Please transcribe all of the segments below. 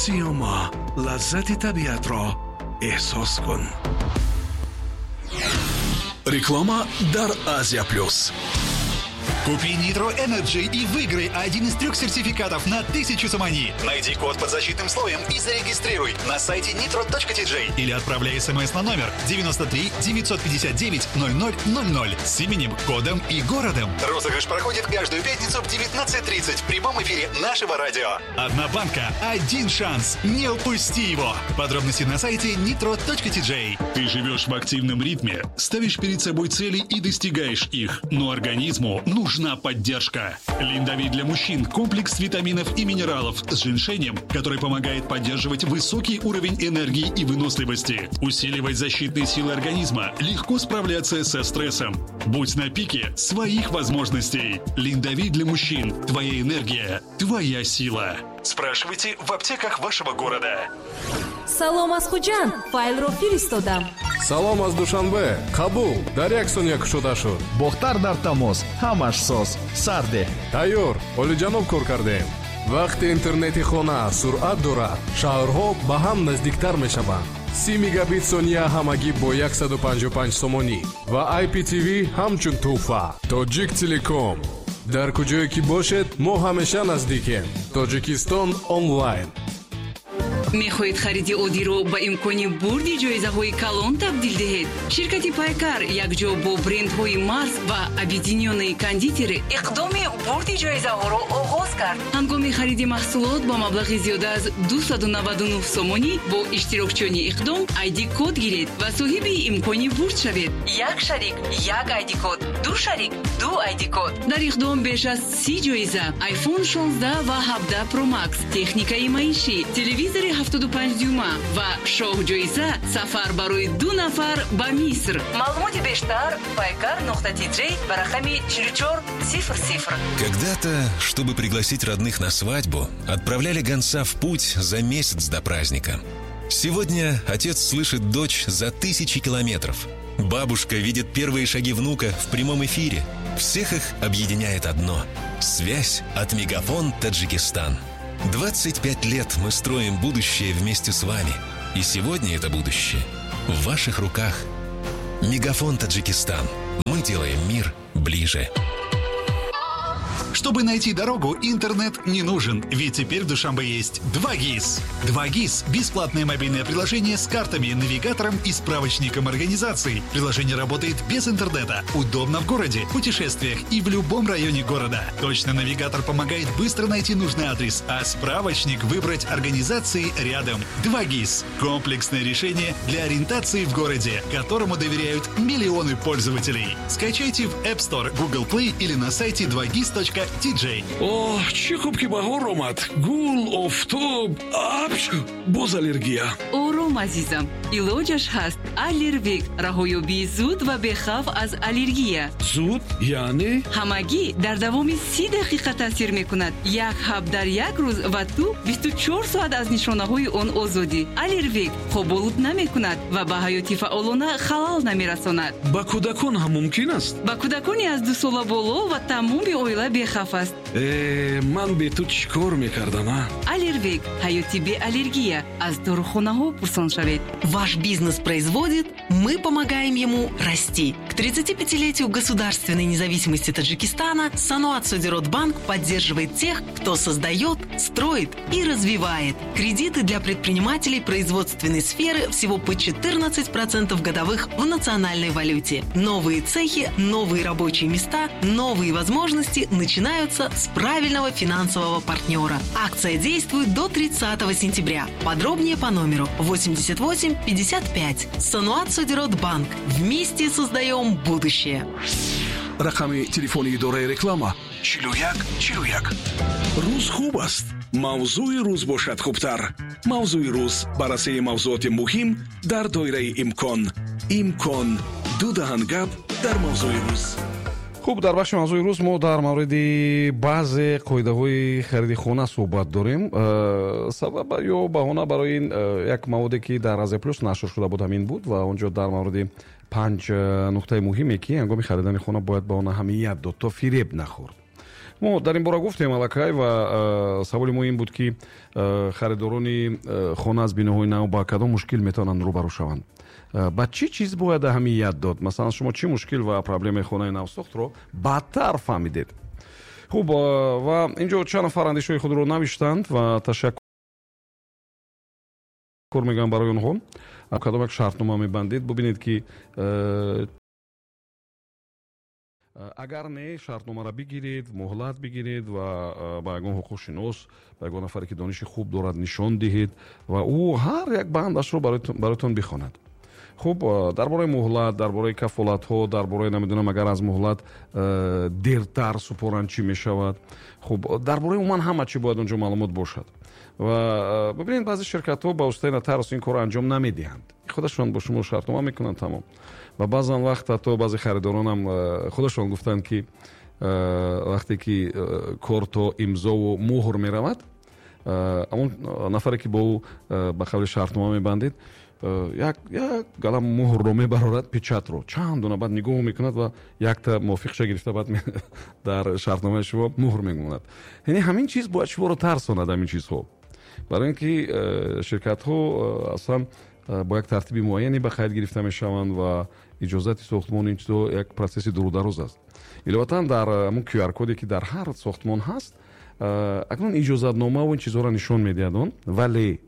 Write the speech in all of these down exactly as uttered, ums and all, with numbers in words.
Сиёма, лаззати табиатро эҳсос кун. Реклама дар Азия Плюс. Купи Nitro Energy и выиграй один из трех сертификатов на тысячу сомони. Найди код под защитным слоем и зарегистрируй на сайте nitro точка T J или отправляй смс на номер девяносто три девятьсот пятьдесят девять ноль ноль ноль ноль с именем, кодом и городом. Розыгрыш проходит каждую пятницу в девятнадцать тридцать в прямом эфире нашего радио. Одна банка, один шанс. Не упусти его. Подробности на сайте nitro точка T J. Ты живешь в активном ритме, ставишь перед собой цели и достигаешь их, но организму нужна поддержка. Линдовит для мужчин – комплекс витаминов и минералов с женьшенем, который помогает поддерживать высокий уровень энергии и выносливости, усиливать защитные силы организма, легко справляться со стрессом. Будь на пике своих возможностей. Линдовит для мужчин – твоя энергия, твоя сила. Спрашивайте в аптеках вашего города. Салом аз Хуҷанд, файлро фиристодам. Салом аз Душанбе, қабул, дар як сония кушода шуд. Бохтар дар тамос, ҳамаш соз, сарде. Тайёр, олиҷаноб кор кардем. Вақте интернети хона суръат дорад, шаҳрҳо ба ҳам наздиктар мешаванд. Си мегабит сония ҳамагӣ бо яксаду панҷоҳу панҷ сомонӣ ва I P T V ҳамчун тӯҳфа. Тоҷик Телеком, дар куҷое ки бошед, мо ҳамеша наздикем. Тоҷикистон онлайн. Мехоҳед хариди оддиро ба имкони бурди ҷоизаҳои калон табдил диҳед? Ширкати Пайкар якҷо бо брендҳои Марс ва Объединённые кондитеры иқдоми бурди ҷоизаҳоро оғоз кард. Ҳангоми хариди маҳсулот ба маблағи зиёда аз дусаду наваду нӯҳ сомонӣ бо иштирокчиёни иқдом айди код гиред ва соҳиби имкони бурд шавед. Як шарик, як айди код, ду шарик, ду айди код. Дар иқдом беш аз си ҷоиза: iPhone шонздаҳ ва ҳабдаҳ Pro Max, техникаи маишӣ, телевизори ҳафтоду панҷ дюйма ва шоҳҷоиза, сафар барои ду нафар ба Миср. Маълумоти бештар: пайкар нуқта тиҷ ба рақами чилу чор сифр сифр. Когда-то, чтобы пригласить родных на свадьбу, отправляли гонца в путь за месяц до праздника. Сегодня отец слышит дочь за тысячи километров. Бабушка видит первые шаги внука в прямом эфире. Всех их объединяет одно – связь от Мегафон Таджикистан. двадцать пять лет мы строим будущее вместе с вами. И сегодня это будущее в ваших руках. Мегафон Таджикистан. Мы делаем мир ближе. Чтобы найти дорогу, интернет не нужен, ведь теперь в Душанбе есть два ГИС. два ГИС – бесплатное мобильное приложение с картами, навигатором и справочником организаций. Приложение работает без интернета, удобно в городе, путешествиях и в любом районе города. Точно навигатор помогает быстро найти нужный адрес, а справочник – выбрать организации рядом. два ГИС – комплексное решение для ориентации в городе, которому доверяют миллионы пользователей. Скачайте в App Store, Google Play или на сайте два гис точка T J. Оҳ, чӣ хуб, ки баҳор омад. Гул, офтоб, апч, боз аллергия. Ором, азизам, илоҷаш ҳаст. Аллервик – раҳоёбии зуд ва бехавф аз аллергия. Зуд яъне? Ҳамагӣ дар давоми си дақиқа таъсир мекунад. Як ҳаб дар як рӯз ва ту бисту чор соат аз нишонаҳои он озодӣ. Аллервик хоболуд намекунад ва ба ҳаёти фаъолона халал намерасонад. Ба кӯдакон ҳам мумкин аст? Ба кӯдакони аз дусола боло ва тамоми оила бехавф аст. Э, ман бе ту чӣ кор мекардам, а? Аллервик – ҳаёти беаллергия. Аз дорухонаҳо пурсон шавед. Ваш бизнес производит, мы помогаем ему расти. К тридцатипятилетию государственной независимости Таджикистана Саноат Содирот Банк поддерживает тех, кто создает, строит и развивает. Кредиты для предпринимателей производственной сферы всего по четырнадцать процентов годовых в национальной валюте. Новые цехи, новые рабочие места, новые возможности начинаются с правильного финансового партнера. Акция действует до тридцатого сентября. Подробнее по номеру восемьдесят восемь пятьдесят пять. Саноат Содирот Банк. Вместе создаем будущее. Рақами телефони идораи реклама: чилу як чилу як. Рӯз хуб аст, мавзӯи рӯз бошад хубтар. Мавзӯи рӯз: баррасии мавзӯоти муҳим дар доираи имкон. Имкон ду даҳан гап дар мавзӯи рӯз. Хуб, дар бахши мавзӯи рӯз мо дар мавриди баъзе қоидаҳои хариди хона суҳбат дорем. э, сабаб ё баҳона барои ин э, як маводе, ки дар Азия Плюс нашр шуда буд, ҳамин буд ва он ҷо дар мавриди панҷ э, нуқтаи муҳиме, ки ҳангоми харидани хона бояд ба он аҳамият дод, то фиреб нахӯрд. Мо дар ин бора гуфтем аллакай ва саволи мо ин буд, ки харидорони хона аз биноҳои нав ба кадом мушкил метавонанд рӯбарӯ шаванд, ба чӣ чиз бояд аҳамият дод, масалан, шумо чӣ мушкил ва проблемаи хонаи навсохтро баъдтар фаҳмидед. Хуб, ва инҷо чанд нафар андешаҳои худро навиштанд ва ташаккур мегӯям барои онҳо. Кадом як шартнома мебандед, бубинед, ки агар не, шартномаро бигиред, муҳлат бигиред ва ба ягон ҳуқуқшинос, ба ягон нафаре, ки дониши хуб дорад, нишон диҳед ва ӯ ҳар як бандашро бароятон бихонад. Хуб, дар бораи муҳлат, дар бораи кафолатҳо, дар бораи намедонам, агар аз муҳлат дертар супоранд, чӣ мешавад. Хуб, дар бораи умуман ҳама чӣ бояд онҷо маълумот бошад. Ва бибинед, баъзе ширкатҳо ба воситаи нотариус ин корро анҷом намедиҳанд, худашон бо шумо шартнома мекунанд, тамом. Ва баъзан вақт ҳатто баъзе харидоронам худашон гуфтанд, ки вақте ки кор то имзову муҳр меравад, ҳамон нафаре, ки бо ӯ ба қавли шартнома мебандед, як як галам муҳрро мебарорад, печатро чанд дона, баъд нигоҳ мекунад ва якта мувофиқша гирифта, баъд дар шартномаи шумо муҳр мемонад. Яъне ҳамин чиз бояд шуморо тарсонад, ҳамин чизҳо, барои ин ки ширкатҳо аслан бо як тартиби муайяне ба қайд гирифта мешаванд ва иҷозати сохтмон ин чизо як процесси дурудароз аст. Иловатан, дар ҳамон Q R коде, ки дар ҳар сохтмон ҳаст, акнун иҷозатномаву ин чизҳоро нишон медиҳад он, вале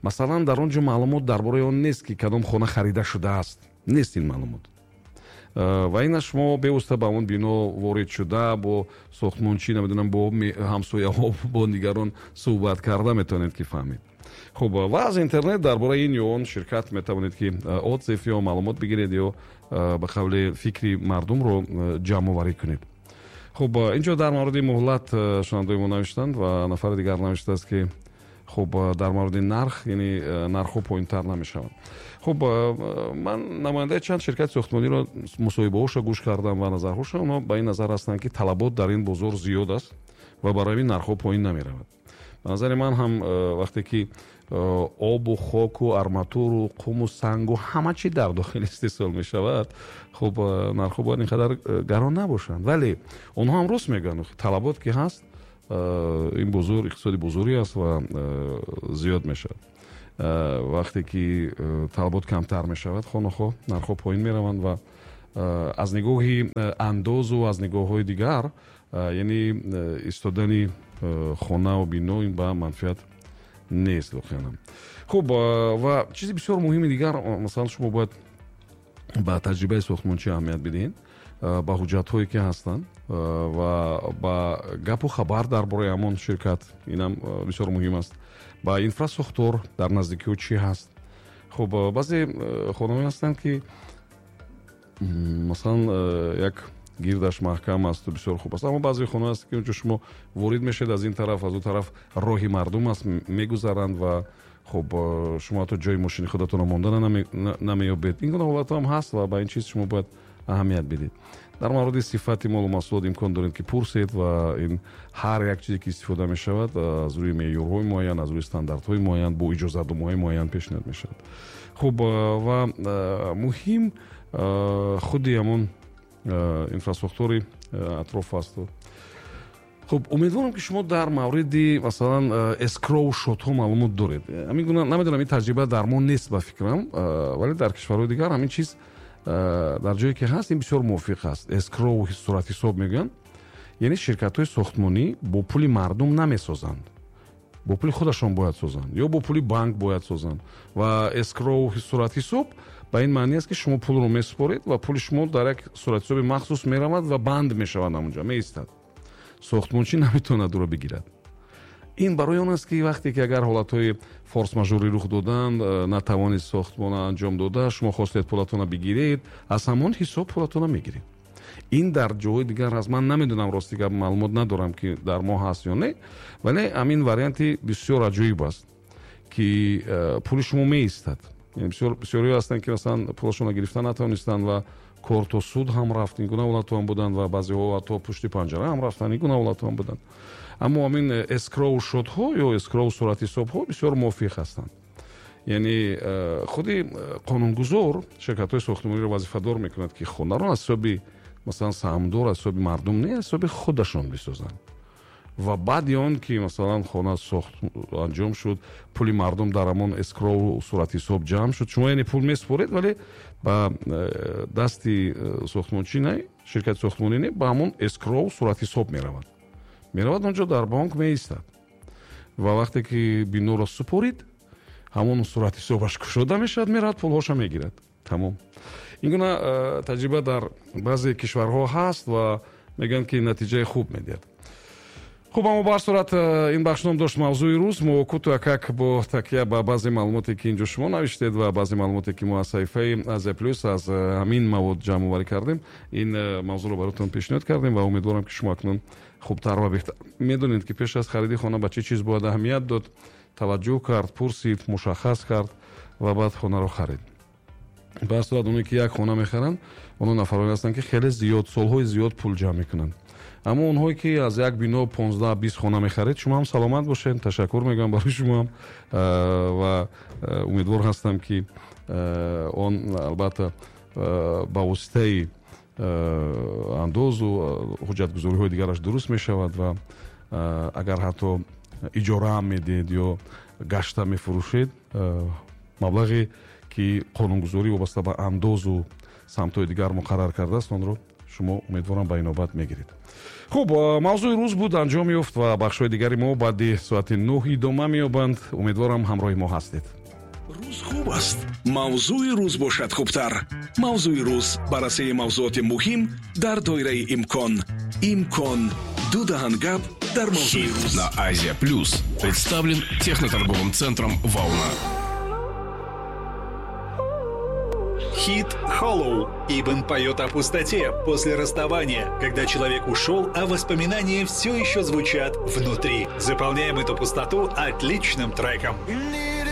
масалан дар он ҷо маълумот дар бораи он нест, ки кадом хона харида шудааст, нест ин маълумот. Ва ина шумо бевосита ба он бино ворид шуда, бо сохтмончӣ, намедонам, бо ҳамсояҳо, бо дигарон суҳбат карда метавонед, ки фаҳмед. Хуб, ва аз интернет дар бораи ин ё он ширкат метавонед, ки отзыв ё маълумот бигиред ё ба қавли фикри мардумро ҷамъоварӣ кунед. Хуб, инҷо дар мавриди муҳлат шунавандаои мо навиштанд ва нафари дигар навиштааст, ки хуб, дар мавриди нарх, яъне нархҳо поинтар намешаванд. Хуб, ман намояндаи чанд ширкати сохтмониро мусоҳибаҳоша гӯш кардам ва назарҳоша, онҳо ба ин назар ҳастанд, ки талабот дар ин бозор зиёд аст ва барои ин нархҳо поин намеравад. Ба назари ман ҳам вақте ки обу хоку арматуру қуму сангу ҳама чи дар дохил истеҳсол мешавад, хуб, нархҳо бояд ин қадар гарон набошанд. Вале онҳо ҳам рост мегӯянд, талабот ки ҳаст, ин бозор иқтисоди бозорӣ аст ва зиёд мешавад. Вақте ки талабот камтар мешавад, хонахо нархҳо поин мераванд ва аз нигоҳи андозу аз нигоҳҳои дигар, яъне истодани хонаву бино ин ба манфиат нест воқеан. Хуб, ва чизи бисёр муҳими дигар, масалан, шумо бояд ба таҷрибаи сохтмончӣ аҳамият бидиҳед, ба ҳуҷҷатҳое, ки ҳастанд, ва ба гапу хабар дар бораи ҳамон ширкат, инам бисёр муҳим аст, ба инфрасохтор дар наздикиҳо чӣ ҳаст. Хуб, баъзе хонаҳое ҳастанд, ки масалан як гирдаш маҳкам асту бисёр хуб аст, аммо баъзе хонаҳое ҳаст, ки онҷо шумо ворид мешавед, аз ин тараф, аз он тараф роҳи мардум аст, мегузаранд ва хуб, шумо ҳатто ҷои мошини худатонро монда намеёбед. Ин гуна ҳолатҳо ҳам ҳаст ва ба ин чиз шумо бояд аҳамият бидед. Дар мавриди сифати молу маҳсулот имкон доред, ки пурсед ва ин ҳар як чизе, ки истифода мешавад, аз рӯи меъёрҳои муайян, аз рӯи стандартҳои муайян, бо иҷозатномаҳои муайян пешниҳод мешавад. Хуб, ва муҳим худи ҳамон инфрасохтори атроф аст. Хуб, умедворам, ки шумо дар мавриди масалан эскроу шотҳо маълумот доред. Ҳамин гуна, намедонам, ин таҷриба дар мо нест ба фикрам, вале дар кишварҳои дигар ҳамин чиз дар ҷое ки ҳаст, ин бисёр мувофиқ аст. Эскроу суратҳисоб мегӯянд, яъне ширкатҳои сохтмонӣ бо пули мардум намесозанд, бо пули худашон бояд созанд ё бо пули банк бояд созанд. Ва эскроу суратҳисоб ба ин маъни аст, ки шумо пулро месупоред ва пули шумо дар як суратҳисоби махсус меравад ва банд мешавад, ҳамонҷо меистад, сохтмончӣ наметавонад ӯро бигирад. Ин барои он аст, ки вақте ки агар ҳолатҳои форс-мажорӣ рух доданд, натавонист сохтмона анҷом дода, шумо хостед пулатонро бигиред, аз ҳамон ҳисоб пулатонро мегиред. Ин дар ҷоҳои дигар аст. Ман намедонам, рости гап, маълумот надорам, ки дар мо ҳаст ё не, вале ҳамин варианти бисёр аҷоиб аст, ки пули шумо меистад. Бисёр бисёриҳо ҳастанд, ки масалан пулашонро гирифта натавонистанд ва кор то суд ҳам рафт, ин гуна ҳолатҳо ҳам буданд ва баъзеҳо ҳатто пушти панҷара ҳам рафтанд, ин гуна ҳолатҳо ҳам буданд. Аммо ҳамин эскроу шотҳо ё эскроу суратҳисобҳо бисёр мувофиқ ҳастанд. Яъне худи қонунгузор ширкатҳои сохтмониро вазифадор мекунад, ки хонаро аз ҳисоби масалан саҳмдор, аз ҳисоби мардум не, аз ҳисоби худашон бисозанд. Ва баъди он ки, масалан, хона сохт анҷом шуд, пули мардум дар ҳамон escrow, суратҳисоб ҷамъ шуд, шумо яъне пул месупоред, вале ба э, дасти э, сохтмончӣ не, ширкати сохтмонӣ не, ба ҳамон escrow, суратҳисоб меравад. Меравад, онҷо дар бонк меистад ва вақте ки биноро супорид, ҳамон суратҳисобаш кушода мешавад, меравад, пулҳоша мегирад, тамом. Ин гуна э, таҷриба дар баъзе кишварҳо ҳаст ва мегӯянд, ки натиҷаи хуб медиҳад. Хуб, аммо ба ҳар сурат э, ин бахш ном дошт «Мавзӯи рӯз». Мо кӯтоҳакак бо такя ба баъзе маълумоте, ки инҷо шумо навиштед, ва баъзе маълумоте, ки мо аз саҳифаи Азия Плюс аз э, ҳамин мавод ҷамъоварӣ кардем, ин э, мавзӯъро баротон пешниҳод кардем ва умедворам, ки шумо акнун хубтар ва беҳтар медонед, ки пеш аз хариди хона ба чӣ чиз бояд аҳамият дод, таваҷҷӯҳ кард, пурсид, мушаххас кард ва баъд хонаро харид. Ба ҳар сурат, оне ки як хона мехаранд, онҳо нафароне ҳастанд, ки хеле зиёд, солҳои зиёд пул ҷамъ мекунанд. Аммо онҳое ки аз як бино понздаҳ бист хона мехаред, шумо ҳам саломат бошед, ташаккур мегӯям барои шумоам ва умедвор ҳастам, ки он албатта ба воситаи андозу ҳуҷҷатгузориҳои дигараш дуруст мешавад ва агар ҳатто иҷораам медиҳед ё гашта мефурӯшед, маблағе ки қонунгузорӣ вобаста ба андозу самтҳои дигар муқаррар кардааст, онро шумо, умедворам, ба инобат мегиред. Хуб, «Мавзӯи рӯз» буд, анҷом ёфт ва бахшҳои дигари мо баъди соати нӯҳ идома меёбанд. Умедворам, ҳамроҳи мо ҳастед. Рӯз хуб аст, мавзӯи рӯз бошад хубтар. «Мавзӯи рӯз», баррасии мавзӯоти муҳим дар доираи имкон. Имкон ду даҳан гап дар мавзӯи рӯз. На Азия Плюс представлен техноторговым центром «Волна». Хит «Hollow». Ибн поет о пустоте после расставания, когда человек ушел, а воспоминания все еще звучат внутри. Заполняем эту пустоту отличным треком.